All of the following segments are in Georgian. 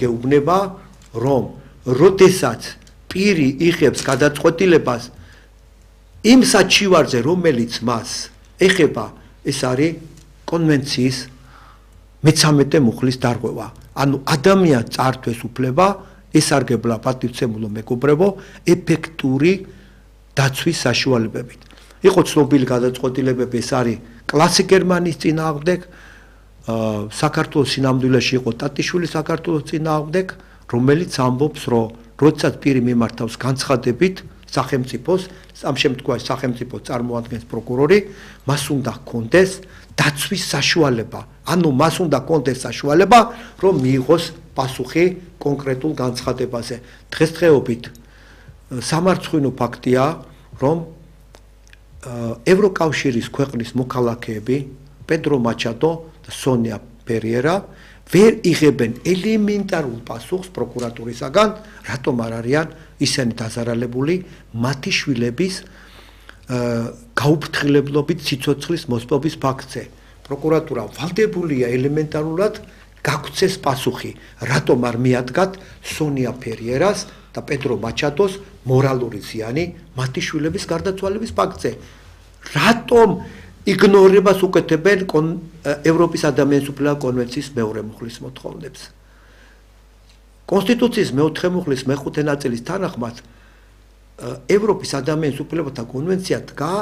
გეუბნება, რომ როდესაც პირი იღებს გადაწყვეტილებას იმ საჩივარზე, რომელიც მას ეხება, ეს არის კონვენციის მე-13 მუხლის დარღვევა. ანუ ადამიანს წართვეს უფლება ესარგებლა პატივცემულო მეგობრებო ეფექტური დაცვის საშუალებებით. იყო ცნობილი გადაწყვეტილებები, ეს არის კლასი გერმანიის წინააღმდეგ, საქართველოს სინამდვილეში იყო ტატიშვილის საქართველოს წინააღმდეგ, რომელიც ამბობს, რომ როდესაც პირი მიმართავს განცხადებით სახელმწიფოს, ამ შემთხვევაში სახელმწიფოს წარმოადგენს პროკურორი, მას უნდა ჰქონდეს დაცვის საშუალება. ანუ მას უნდა ჰქონდეს საშუალება, რომ მიიღოს პასუხი კონკრეტულ განცხადებაზე. დღესდღეობით სამარცხვინო ფაქტია, რომ ევროკავშირის ქვეყნის მოქალაქეები, პედრო მაჩადო და სონია პერიერა ვერ იღებენ ელემენტარულ პასუხს პროკურატურისაგან, რატომ არ არიან ისინი დაზარალებული მათი შვილების გაუფრთხილებლობით სიცოცხლის მოსპობის ფაქტზე. პროკურატურა ვალდებულია ელემენტარულად გაგვცეს პასუხი, რატომ არ მიადგათ სონია პერიერას და პედრო მაჩადოს მორალური ზიანი მათი შვილების გარდაცვალების ფაქტზე. რატომ იგნორებას უკეთებენ ევროპის ადამიანის უფლებათა კონვენციის მეორე მუხლის მოთხოვნებს. კონსტიტუციის მეოთხე მუხლის მეხუთე ნაწილის თანახმად ევროპის ადამიანის უფლებათა კონვენცია დგა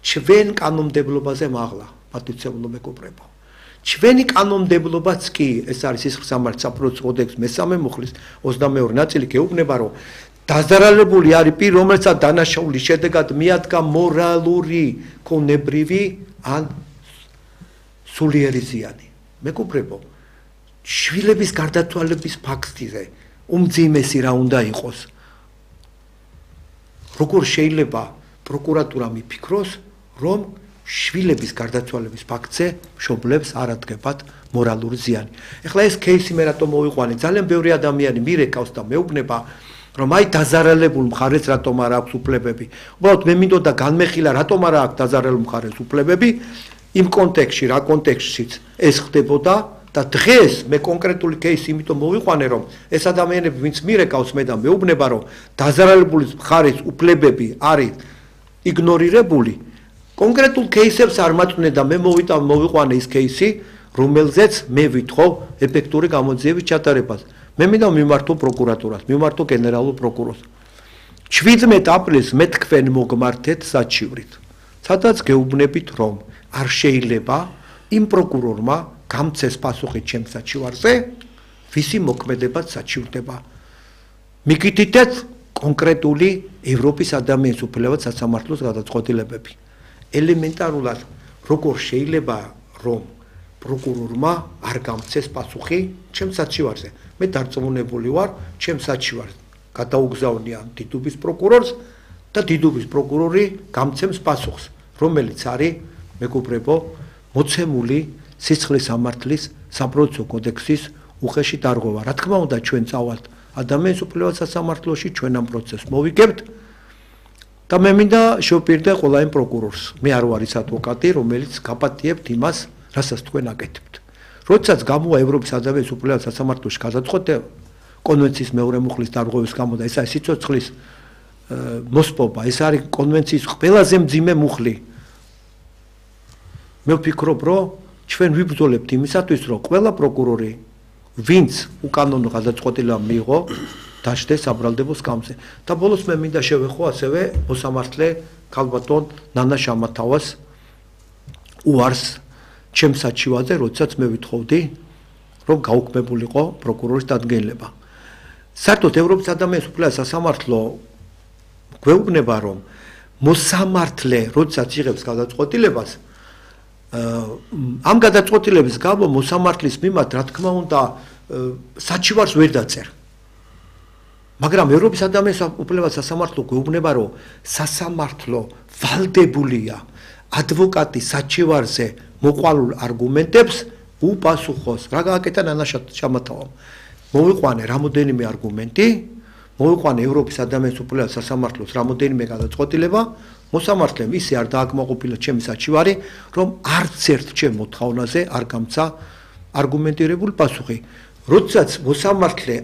ჩვენ კანონმდებლობაზე მაღლა, პატივცემულო მეგობრებო. ჩვენი კანონმდებლობაც კი, ეს არის სისხლის სამართლის საპროცესო კოდექსის მე-3 მუხლის 22 ნაწილი გეუბნება, რომ დაზარალებული არის პირი, რომელსაც დანაშაულის შედეგად მიადგა მორალური, ქონებრივი ან სულიერი ზიანი. მეგობრებო, შვილების გარდაცვალების ფაქტზე უმძიმესი რა უნდა იყოს? როგორ შეიძლება პროკურატურა მიფიქროს, რომ შვილების გარდაცვალების ფაქტზე მშობლებს არ ადგებათ მორალური ზიანი. ეხლა ეს кейსი მე რატომ მოვიყვანე? ძალიან ბევრი ადამიანი მირეკავს და მეუბნება, რომ აი დაზარალებულ მხარეს რატომ არ აქვს უფლებები. უბრალოდ მე მინდოდა განმეხილა, რატომ არ აქვს დაზარალებულ მხარეს უფლებები, იმ კონტექსტში, რა კონტექსტშიც ეს ხდებოდა და დღეს მე კონკრეტული кейსი იმიტომ მოვიყვანე, რომ ეს ადამიანები, ვინც მირეკავს მე და მეუბნება, რომ დაზარალებული მხარეს უფლებები არის იგნორირებული, კონკრეტულ кейსებს არ მაწვნე და მე მოვიყვანე ის кейსი, რომელზეც მე ვითხოვ ეფექტური გამოძიების ჩატარებას. მე მინდა მიმართო პროკურატურას, მიმართო გენერალურ პროკურორს. 17 აპრილს მე თქვენ მოგმართეთ საჩივრით. სადაც გეუბნებით, რომ არ შეიძლება იმ პროკურორმა გამცეს პასუხი ჩემს საჩივარზე, ვისი მოქმედებაც საჩივრდება. მიგითითეთ კონკრეტული ევროპის ადამიანის უფლებათა სასამართლოს გადაწყვეტილებები. ელემენტარულად როგორ შეიძლება რომ პროკურორმა არ გამცეს პასუხი ჩემს საჩივარზე. მე დარწმუნებული ვარ, ჩემს საჩივარს გადაუგზავნიან დიდუბის პროკურორს და დიდუბის პროკურორი გამცემს პასუხს, რომელიც არის მეგობრებო მოცემული სისხლის სამართლის საპროცესო კოდექსის უხეში დარღვევა. რა თქმა უნდა, ჩვენ წავალთ ადამიანის უფლებათა სასამართლოში, ჩვენ ამ პროცესს მოვიგებთ და მე მინდა შევპირდე ყველა იმ პროკურორს. მე არ ვარ ის ადვოკატი, რომელიც გაპატიებთ იმას, რასაც თქვენ აკეთებთ. როდესაც გამოვა ევროპის ადამიანის უფლებათა სასამართლოში გადაწყვეტილება კონვენციის მეორე მუხლის დარღვევის გამო და ეს არის სიცოცხლის მოსპობა, ეს არის კონვენციის ყველაზე მძიმე მუხლი. მე ვფიქრობ, რომ ჩვენ ვიბრძოლებთ იმისათვის, რომ ყველა პროკურორი, ვინც უკანონო გადაწყვეტილება მიიღო, დაждდეს საბრალდებო სკამზე. და ბოლოს მე მინდა შევეხო ასევე მოსამართლე ქალბატონ ნანა შამათავას უარს ჩემს საჩივარზე, როდესაც მე ვითხოვდი, რომ გაუქმებულიყო პროკურორის დადგენილება. საერთოდ ევროპის ადამიანის უფლებათა სასამართლო გვეუბნება, რომ მოსამართლე, როდესაც იღებს გადაწყვეტილებას, ამ გადაწყვეტილების გამო მოსამართლის მიმართ, რა თქმა უნდა, საჩივარს ვერ დაწერს. მაგრამ ევროპის ადამიანის უფლებათა სასამართლო გვეუბნება, რომ სასამართლო ვალდებულია ადვოკატის საჩივარზე მოყვალულ არგუმენტებს უპასუხოს. რა გააკეთა ნანა შამათავამ? მოვიყვანე რამოდენიმე არგუმენტი, მოვიყვანე ევროპის ადამიანის უფლებათა სასამართლოს რამოდენიმე გადაწყვეტილება, მოსამართლემ ისე არ დააკმაყოფილა ჩემი საჩივარი, რომ არც ერთ ჩემ მოთხოვნაზე არ გამცა არგუმენტირებული პასუხი. როდესაც მოსამართლე